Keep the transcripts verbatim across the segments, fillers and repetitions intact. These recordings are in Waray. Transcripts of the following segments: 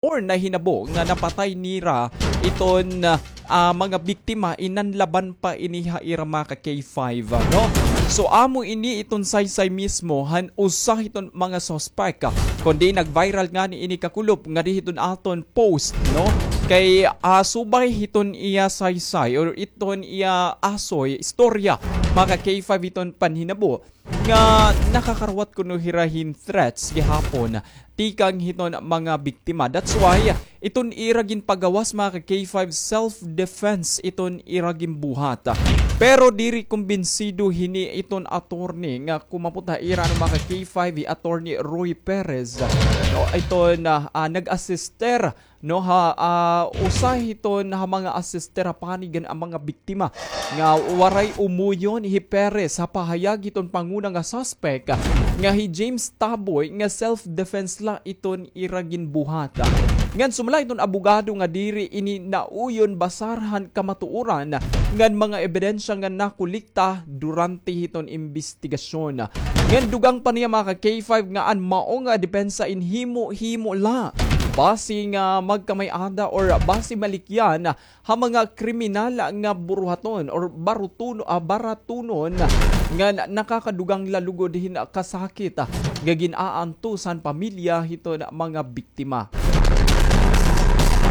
or nahinabo nga napatay nira iton, ah, mga biktima, in nanlaban pa ini ha ira, mga ka K five, no? So, amo ini iton saysay mismo han usa hiton mga suspect, ah, kundi nag-viral ngani ini kakulop ngadi hiton aton post, no? Kay, ah, subay hiton iya saysay or iton iya asoy, istorya, mga ka K five, hiton panhinabo nga nakakaruwat kuno hira hin threats gihapon tikang hiton mga biktima. That's why iton ira ginpagawas, mga ka K five, self-defense iton ira ginbuhat. Pero diri kumbinsido hini iton attorney nga kumapot ha ira, ano, mga ka K five, hi Attorney Roy Perez, no, iton, ah, ah, nag-assister, no, ha, ah, usa hiton ha mga assister ha panig han mga biktima nga waray umuyon hi Perez ha pahayag hiton panguna nga suspect nga hi James Taboy nga self-defense la iton ira ginbuhat. Ngan sumala iton abogado nga diri ini nauyon basar han kamatuoran ngan mga ebidensya nga nakolekta durante hiton imbestigasyon. Ngan dugang pa niya, mga ka K five, nga an mao nga depensa in himo-himo la basi nga magkamay-ada or basi malikyan ha mga kriminal nga buruhaton or barutuno-, ah, baratunon nga na-, nakakadugang la lugod hin kasakit, ah, nga gin-aantos han pamilya hiton mga biktima.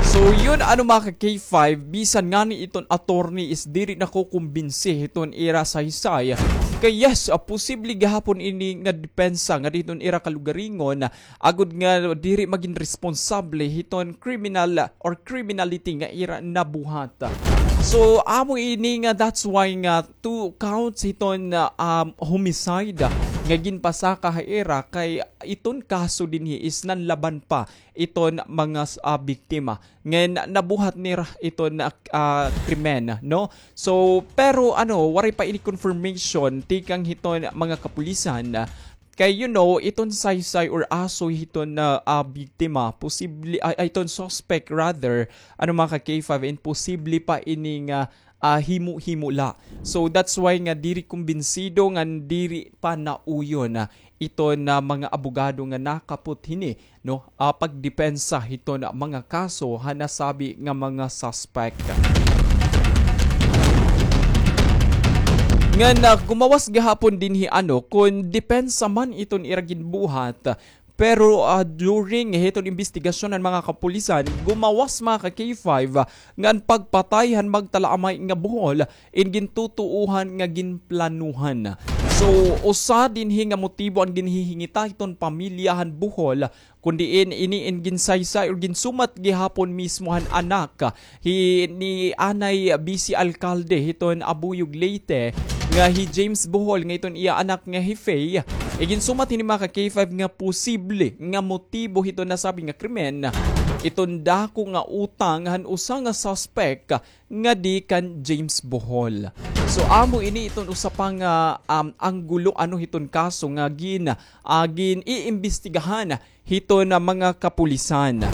So, yun, ano, mga ka K five, bisan ngani iton attorney is diri nakukumbinsi hiton ira saysay. Kay yes, ah, posible gihapon ini nga depensa ngadi hiton ira kalugaringon, agod nga diri magin responsable hiton criminal or criminality nga ira nabuhat. So, amo ini nga that's why nga two counts hiton, ah, um, homicide nga ginpasaka ha ira kay iton kaso dinhi is nanlaban pa iton mga, ah, biktima. Ngan nabuhat nira iton, ah, krimen, no? So, pero ano, waray pa ini confirmation tikang hiton mga kapulisan. Kay, you know, iton saysay or asoy hiton, ah, biktima, posible, ay, ay, iton suspect rather, ano, mga ka K five, imposible pa ini nga, ah, himo-himo la. So, that's why nga diri kumbinsido ngan diri pa nauyon, ah, iton mga abogado nga nakapot hini, no, ah, pagdepensa hiton mga kaso ha nasabi nga mga suspect. Ngan, ah, gumawas gihapon dinhi, ano, kon depensa man iton ira ginbuhat, pero, ah, during hiton imbestigasyon han mga kapulisan, gumawas, mga ka K five, ah, ngan pagpatay han magtalaamay nga buhol in gintutuohan nga ginplanuhan. So, usa dinhi nga motibo an ginhihingita hiton pamilya han buhol, kon diin ini in ginsaysay or ginsumat gihapon mismo han anak hi ni anay bise alkalde hiton Abuyog, Leyte, nga hi James Bohol, nga iton iya anak nga hi Faye. Iginsumat hini, mga ka K five, nga posible nga motibo hiton nasabi nga krimen iton dako nga utang han usa nga suspect ngadi kan James Bohol. So, amo ini iton usa pa nga, um, anggulo, ano, hiton kaso nga gin-, ah, gin-iimbestigahan hiton mga kapulisan.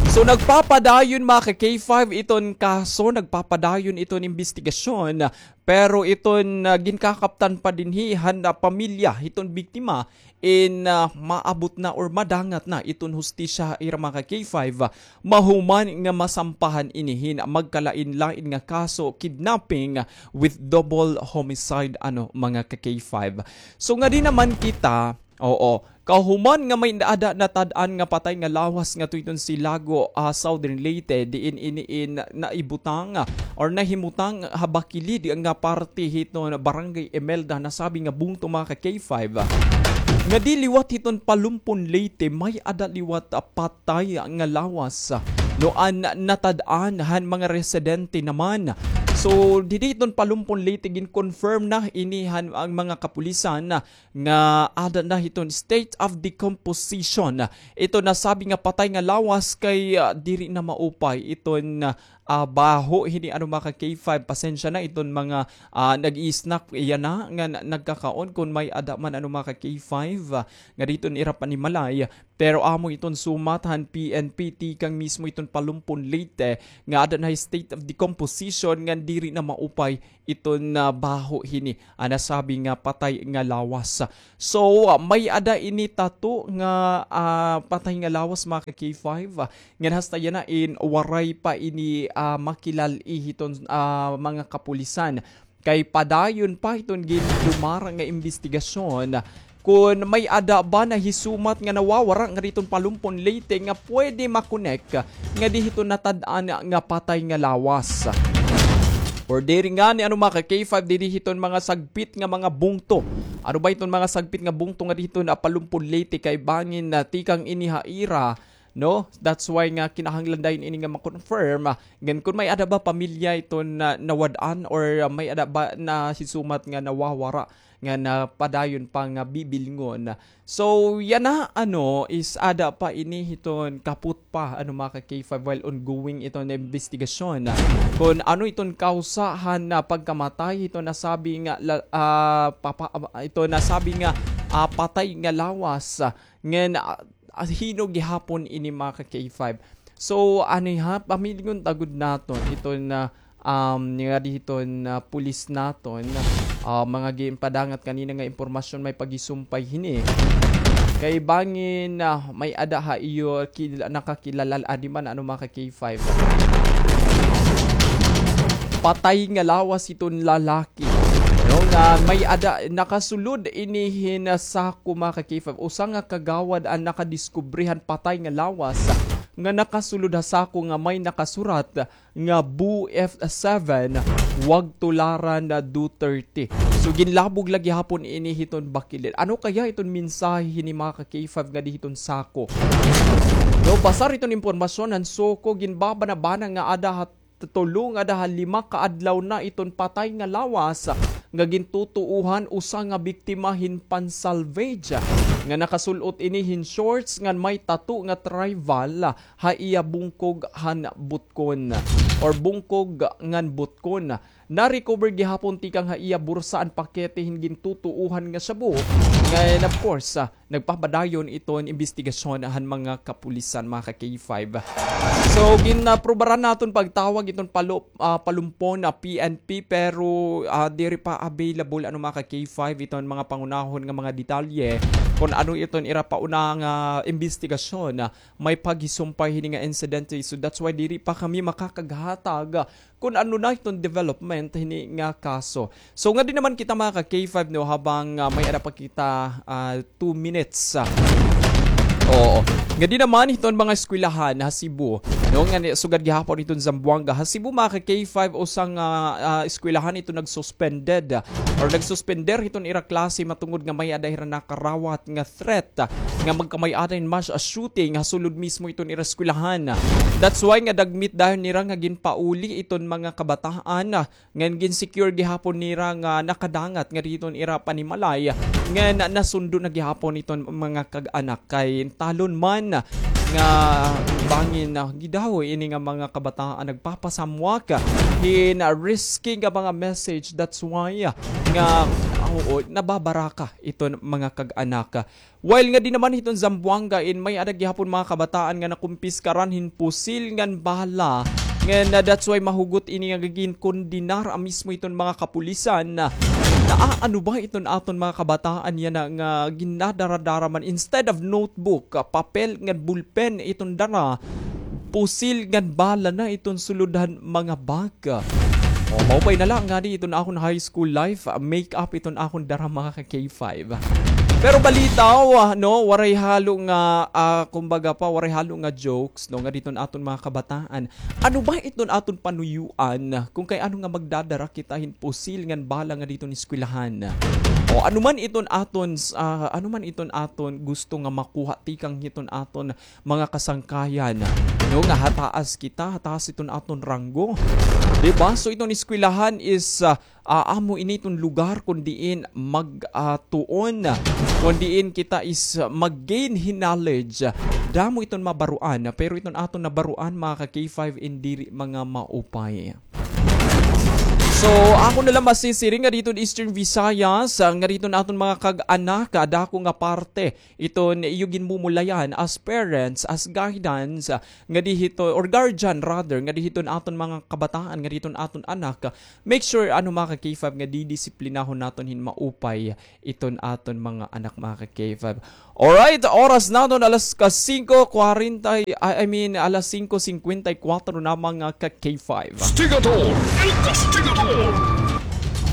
So, nagpapadayon, mga ka K five, iton kaso, nagpapadayon iton imbestigasyon, pero iton, ah, ginkakaptan pa dinhi han, ah, pamilya hiton biktima in, ah, maabot na or madangat na iton hustisya ha ira, mga ka K five, ah, mahuman nga masampahan ini hin magkalain-lain nga kaso, kidnapping with double homicide, ano, mga ka K five. So, ngadi naman kita, oo, kahuman nga may-ada natad-an nga patay nga lawas ngadto hiton Silago, ah, Southern Leyte, diin ini in naibutang, ah, or nahimutang ha bakilid nga parte hiton Barangay Imelda, nasabi nga bungto, mga ka K five, ah, ngadi liwat hiton Palumpon, Leyte, may-ada liwat, ah, patay nga lawas, ah, no, an natad-an han mga residente naman. So, didi hiton Palumpon, Leyte, gin-confirm na ini han mga kapulisan, ah, nga ada na hiton state of decomposition iton nasabi nga patay nga lawas kay, ah, diri na maupay iton, ah, baho hini, ano, mga ka K five, pasensya na iton mga, ah, nag-i-snack yana nga na-, nagkakaon kon may-ada man, ano, mga ka K five, ah, ngadi hiton ira panimalay. Pero amo iton sumat han P N P tikang mismo iton Palumpon, Leyte, nga ada na state of decomposition ngan diri na maupay iton, ah, baho hini, ah, nasabi nga patay nga lawas. So, ah, may-ada ini tato nga, ah, patay nga lawas, mga ka K five, ah, ngan hasta yana in waray pa ini, ah, makilal-i hiton, ah, mga kapulisan. Kay padayon pa hiton gindumara nga imbestigasyon kon may-ada ba nahisumat nga nawawara ngadi hiton Palumpon, Leyte nga pwede makonek ngadi hiton natad-an nga patay nga lawas. Or diri ngani, ano, mga ka K five, didi hiton mga sagpit nga mga bungto. Ano ba iton mga sagpit nga bungto ngadi hiton, ah, Palumpon, Leyte, kay bangin, ah, tikang ini ha ira, no? That's why nga kinahanglan dayon ini nga ma-confirm, ah, ngan kon may-ada ba pamilya iton na nawad-an or, ah, may-ada ba nahisumat nga nawawara nga napadayon pa nga bibilngon. So, yana, ano, is ada pa ini hiton kapot pa, ano, mga ka K five, while ongoing iton imbestigasyon. Kon ano iton kawsa han, ah, pagkamatay hiton nasabi nga la-, ah, papa-, ah, ito nasabi nga, ah, patay nga lawas, ah, ngan, ah, ah, hin-o gihapon ini, mga ka K five. So, ano ha, pamilingon ta gud naton iton, ah, um, ngadi hiton, ah, pulis naton, ah, mga ginpadangat kanina nga impormasyon may paghisumpay hini. Kay bangin, ah, may-ada ha iyo kil-, nakakilala, adi man, ano, mga ka K five. Patay nga lawas iton lalaki. No, nga may-ada, nakasulod ini hin sako, mga ka K five. Usa nga kagawad an nakadiskubre han patay nga lawas nga nakasulod ha sako nga may nakasurat nga Bu F seven, wag tularan na Duterte. So, ginlabog la gihapon ini hiton bakilid. Ano kaya iton mensahe hini, mga ka K five, ngadi hiton sako? No, basar iton impormasyon han sako, ginbabanabana nga ada ha tulo nga ada ha lima ka adlaw na iton patay nga lawas nga gintutuohan usa nga biktima hin pan-salvage nga nakasul-ot ini hin shorts ngan may tattoo nga tribal ha iya bungkog han butkon or bungkog ngan butkon. Na-recover gihapon tikang ha iya bursa an pakete hin gintutuohan nga shabu. Ngan, of course, ah, nagpapadayon iton imbestigasyon han mga kapulisan, mga ka K five. So, gin, ah, prubaran naton pagtawag iton palo-, ah, Palumpon na P N P, pero, ah, diri pa available, ano, mga ka K five, iton mga pangunahon nga mga detalye kon ano iton ira pauna nga imbestigasyon, ah, may paghisumpay hini nga insidente. So, that's why diri pa kami makakaghatag kon ano na iton development hini nga kaso. So, ngadi naman kita, mga ka K five, no, habang, ah, may-ada pa kita, ah, two minutes, ah. Oo. Ngadi naman hiton mga eskwelahan ha Cebu, no, nga ni-, sugad gihapon hiton Zamboanga. Ha Cebu, mga ka K five, usa nga, ah, eskwelahan iton nagsuspended, ah, or nagsuspender hiton ira klase matungod nga may-ada hira nakarawat nga threat, ah, nga magkamay-ada hin mass shooting ha sulod mismo iton ira eskwelahan. That's why nga dagmit dayon nira nga ginpauli iton mga kabataan, ah, ngan gin-secure gihapon nira nga nakadangat ngadi hiton ira panimalay, ngan nasundo na gihapon iton mga kag-anak kay talon man nga bangin, ah, gidahoy ini nga mga kabataan nagpapasamwak hin risky nga mga message. That's why, ah, nga, ah, oo, nababaraka iton mga kag-anak. While ngadi naman hiton Zamboanga in may-ada gihapon mga kabataan nga nakumpiskaran hin pusil ngan bala. Ngan, ah, that's why mahugot ini nga ginkondenar an mismo hiton mga kapulisan. Naaano ba iton aton mga kabataan yana nga ginadaradara man instead of notebook, ah, papel ngan bulpen iton dara, pusil ngan bala na iton sulod han mga bag. O, maupay na la ngadi iton akon high school life, ah, make up iton akon dara, mga ka K five. Pero balitaw, ah, no, waray halo nga, ah, kumbaga pa, waray halo nga jokes, no, ngadi iton aton mga kabataan. Ano ba iton aton panuyuan kung kay ano nga magdadara kita hin pusil ngan bala ngadi iton eskwelahan? O, ano man iton aton, ah, ano man iton aton gusto nga makuha tikang hiton aton mga kasangkayan, no, nga hataas kita, hataas iton aton ranggo. Di ba? So, iton eskwelahan is, ah, ah, amo ini iton lugar kon diin mag, ah, tuon, kon diin kita is mag-gain hin knowledge. Damo iton mabaruan, pero iton aton nabaruan, mga ka K five, in diri mga maupay. So, ako na lang masisiring nga didto Eastern Visayas, ah, nga didto aton mga kag-anak, ah, dako nga parte iton iyo ginmumulayan as parents, as guidance, ah, nga didto, or guardian rather, nga didto aton mga kabataan, nga didto aton anak, ah, make sure, ano, mga ka-K five, nga didisiplinahon naton hin maupay iton aton mga anak, mga ka-K five. Alright, oras naton alas ka singko kwarenta, I, I mean, alas singko singkwenta y kwatro na, mga ka-K five. Kastigador! El Kastigador!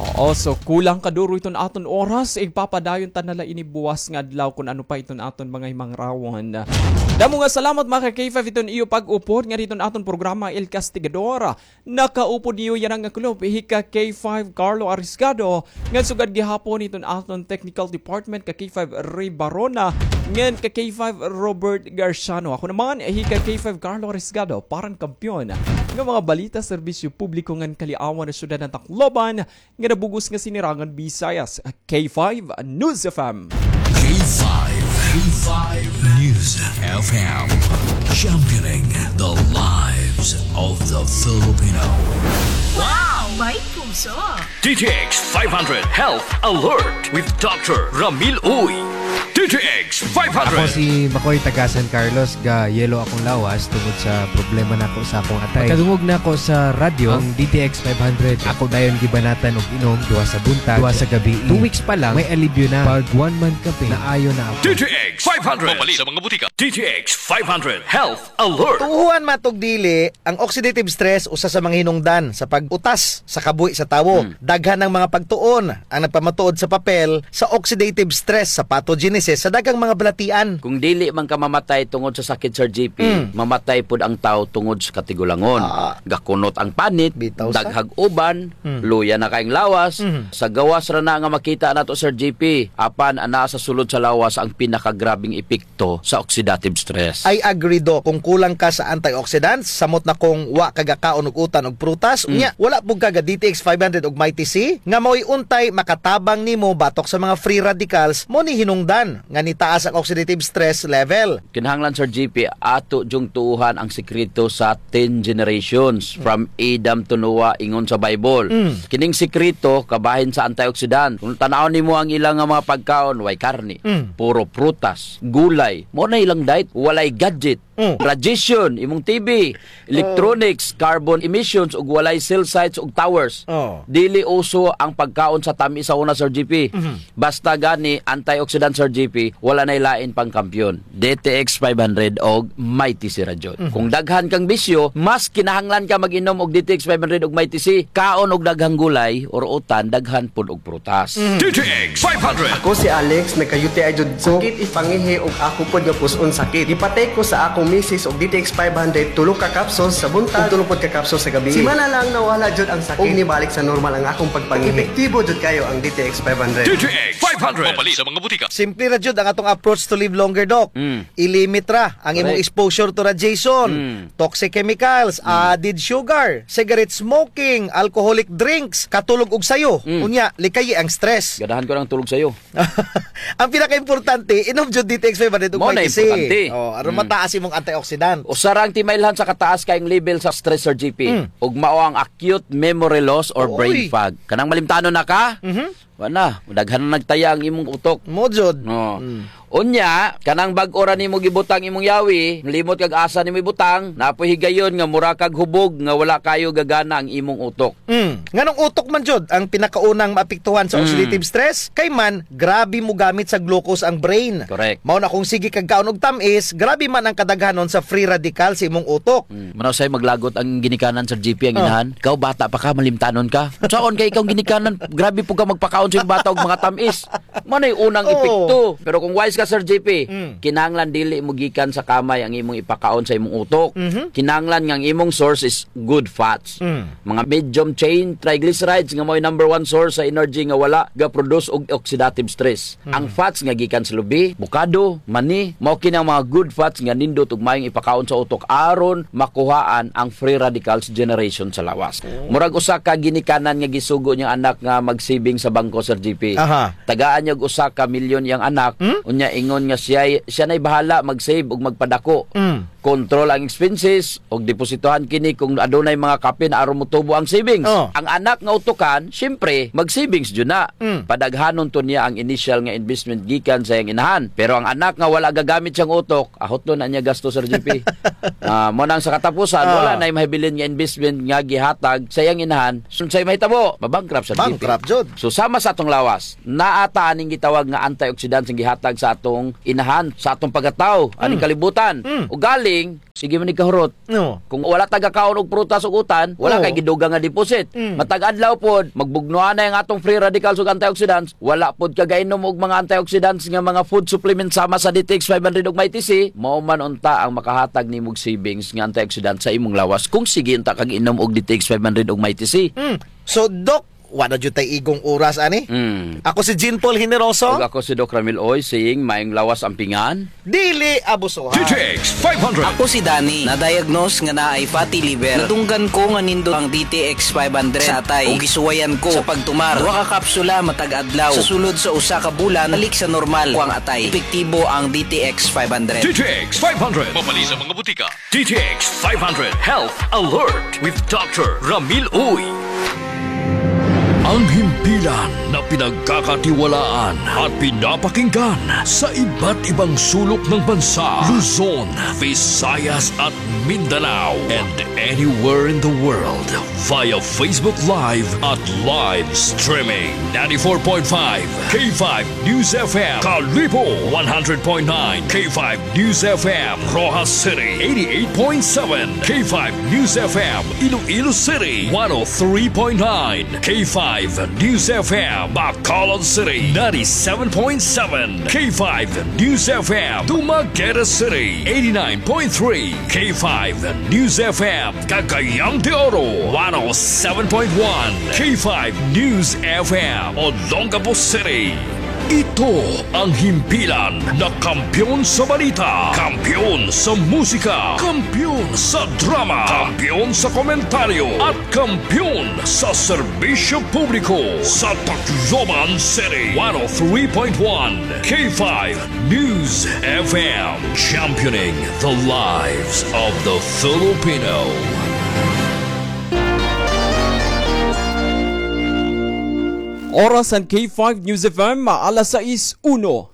Oo, so kulang kaduro iton aton oras. Igpapadayon ta na la ini buwas nga adlaw kun ano pa iton aton mga himangrawon. Damo nga salamat, mga ka-K five, iton iyo pag-upod nga didto aton programa El Kastigador. Nakaupod niyo yana nga kulop hi ka-K five Carlo Arisgado, ngan sugad gihapon iton aton technical department, ka-K five Ray Barona, ngan ka-K five Robert Garciano. Ako naman hi ka-K five Carlo Arisgado, parang kampiyon nga mga balita, serbisyo publiko ngan kaliawan ha syudad han Tacloban, nga nabug-os nga sinirangan Visayas, K five News F M. K five, K five News F M, championing the lives of the Filipino. Wow! May puso! D T X five hundred Health Alert with Doctor Ramil Uy. D T X five hundred. Ako si Makoy, taga San Carlos, ga-yellow akong lawas tungod sa problema nako sa akong atay. Pagkadungog nako sa radyo, ang D T X five hundred, ako dayon gibanatan og inom duha sa buntag, duha sa gabii. Two weeks pa lang, may alibyo na. Pag one month ka pa, naayo na ako. D T X five hundred. Mapalit sa mga butika. D T X five hundred Health Alert. Tuohan man 'tog dili, ang oxidative stress usa sa mga hinungdan sa pag-utas sa kabuhi sa tawo. Hmm. Daghan ang mga pagtuon ang nagpamatuod sa papel sa oxidative stress sa pathogenesis sa daghang mga balatian. Kung dili man ka mamatay tungod sa sakit, Sir G P, Mm. mamatay pud ang tawo tungod sa katigulangon. Ah. Gakunot ang panit, Bitaw sa daghag uban, Mm. luya na kayong lawas. Mm. Sa gawas ra na nga makita nato, Sir G P, apan anaa sa sulod sa lawas ang pinakagrabing epekto sa oxidative stress. I agree, Doc. Kung kulang ka sa antioxidants, samot na kung wa ka gakaon og utan og prutas, Mm. unya, wala pud ka ga D T X five hundred og Mighty C, nga mao'y untay makatabang nimo batok sa mga free radicals, mao ni hinungdan nga nitaas ang oxidative stress level. Kinahanglan, Sir G P, ato jung tuohan ang sikreto sa ten generations, Mm. from Adam to Noah, ingon sa Bible. Mm. Kining sikreto, kabahin sa antioxidant. Kung tan-awon nimo ang ilang nga mga pagkaon, way karne, Mm. puro prutas, gulay. Mao na ilang diet, walay gadget. Mm. Radiation, imong T V, electronics, Oh. carbon emissions, ug walay cell sites ug towers. Oh. Dili uso ang pagkaon sa tamis sa una, Sir G P. Mhm. Basta gani, antioxidant, Sir G P, wala na'y lain pang kampiyon. D T X five hundred og Mighty C ra jud. Mhm. Kung daghan kang bisyo, mas kinahanglan ka mag-inom og D T X five hundred og Mighty C. Kaon og daghang gulay or utan, daghan pud og prutas. Mhm. D T X five hundred. Ako si Alex, nagka-U T I jud ko. Sakit ipangihi ug ako pod nga pus-on sakit. Gipatay ko sa akong misis og D T X five hundred, tulo ka capsules sa buntag, ug tulo pod ka capsules sa gabi. Simana lang nawala jud ang sakit. Ug nibalik sa normal ang akong pagpangihi. Epektibo jud kayo ang D T X five hundred. D T X five hundred. Mapalit sa mga butika. Simple ra jud ang atong approach to live longer, Doc. Mm. I-limit ra ang imong Correct. exposure to radiation, Mm. toxic chemicals, Mm. added sugar, cigarette smoking, alcoholic drinks, katulog og sayo. Mm. Unya, likayi ang stress. Ganahan ko ng tulog sayo. Ang pinakaimportante, inom jud D T X five hundred ug Mao na Mighty C. importante. Oh, aron Mm. mataas imong antioxidant. Usa ra ang timailhan sa kataas kayong level sa stress, Sir G P. Mm. Ug mao ang acute memory loss or brain Oy. fog. Kanang malimtanon na ka? Mhm. Wa na, daghan na nagtaya ang imong utok. Mao jud. No. Mm. Unya, kanang bag-o ra nimo gibutang imong yawi, limot kag asa nimo ibutang, naa poy higayon nga mura kag hubog nga wala kayo gagana ang imong utok. Mm. Nganong utok man jud ang pinakaunang maapektuhan sa Mm. oxidative stress? Kay man, grabe mogamit sa glucose ang brain. Correct. Mao na kung sige kag kaon og tam-is, grabe man ang kadaghanon sa free radical sa imong utok. Mm. Manaw say maglagot ang ginikanan, Sir G P, ang Oh. inahan. Ikaw, bata pa ka, malimtanon ka. Saon kay ikaw ginikanan, grabe po ka magpakaon sa imong bata og mga tam-is. Mao nay unang Oo. epekto. Pero kung wise ka, Sir G P, Mm. kinahanglan dili mo gikan sa kamay ang imong ipakaon sa imong utok. Mhm. Kinahanglan nga ang imong source is good fats. Mm. Mga medium chain triglycerides nga mao'y number one source sa energy nga wala ga-produce og oxidative stress. Mm. Ang fats nga gikan sa lubi, bukado, mani, mao kini ang mga good fats nga nindot ug maayong ipakaon sa utok aron makuhaan ang free radicals generation sa lawas. Oh. Murag usa ka ginikanan nga gisugo niyang anak nga mag-saving sa bangko, Sir G P. Aha. Tagaan niya og usa ka milyon iyang anak, Hmm? unya ingon nga siya, siya nay bahala mag-save ug magpadako. Mm. Control ang expenses, ug depositohan kini kung adunay mga kapin aron motubo ang savings. Oh. Ang anak nga utukan, siyempre, mag-savings jud na. Mm. Padaghanon to niya ang initial nga investment gikan sa iyang inahan. Pero ang anak nga wala gagamit siyang utok, ahot na niya gasto, Sir G P. Ah, mao nang sa katapusan, ah, wala nay mahibilin nga investment nga gihatag sa iyang inahan. Unsay mahitabo? Mabankrupt, Sir G P. Bankrupt jud. So, sama sa atong lawas, naa ta aning gitawag nga antioxidants nga gihatag sa atong inahan, sa atong pagkatawo, aning, mm, kalibutan. Mm. Ugaling, sige man ni kahurot. No. Kung wala ta gakaon og prutas ug utan, wala, oo, kay gidugang nga deposit. Mm. Matag adlaw pod, magbugnoan na ang atong free radicals ug antioxidants, wala pod ka gainom og mga antioxidants nga mga food supplements sama sa D T X five hundred ug Mighty C, mao man unta ang makahatag nimo og savings nga antioxidant sa imong lawas kung sige unta kag inom og D T X five hundred ug Mighty C. Mm. So, Doc, wala jud tay igong oras ani. Mm. Ako si Jean Paul Generoso. Ug ako si Doc Ramil Oy, saying, mayong lawas ampingan. Dili abusuhan. D T X five hundred. Ako si Danny, na-diagnose nga naay fatty liver. Nadunggan ko nga nindot ang D T X five hundred sa atay. Ug gisuwayan ko sa pagtumar. Duha ka kapsula matag adlaw. Sa sulod sa usa ka bulan, balik sa normal ko ang atay. Epektibo ang D T X five hundred. D T X five hundred. Mapalit sa mga butika. D T X five hundred Health Alert with Doctor Ramil Uy. Ang himpilan na pinagkakatiwalaan at pinapakinggan sa iba't ibang sulok ng bansa, Luzon, Visayas at Mindanao, and anywhere in the world via Facebook Live at live streaming. Ninety-four point five K five News F M, Kalibo, one hundred point nine K five News F M, Roxas City, eighty-eight point seven K five News F M, Iloilo City, one oh three point nine K five News F M, Bacolod City, ninety-seven point seven K five News F M, Dumaguete City, eighty-nine point three K five News F M, Cagayan de Oro, one oh seven point one K five News F M, Olongapo City. Ito ang himpilan na kampiyon sa balita, kampiyon sa musika, kampiyon sa drama, kampiyon sa komentaryo, at kampiyon sa serbisyo publiko sa Tacloban City. One oh three point one K five News F M, championing the lives of the Filipino. Oras han K five News F M, alas sais uno.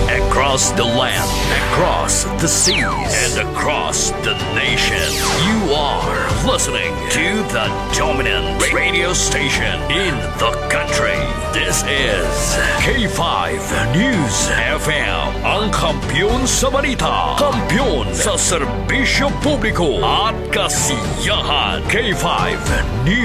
Across the land, across the seas, and across the nation, you are listening to the dominant radio station in the country. This is K five News F M, ang kampiyon sa balita, kampiyon sa serbisyo publiko at kasiyahan. K five News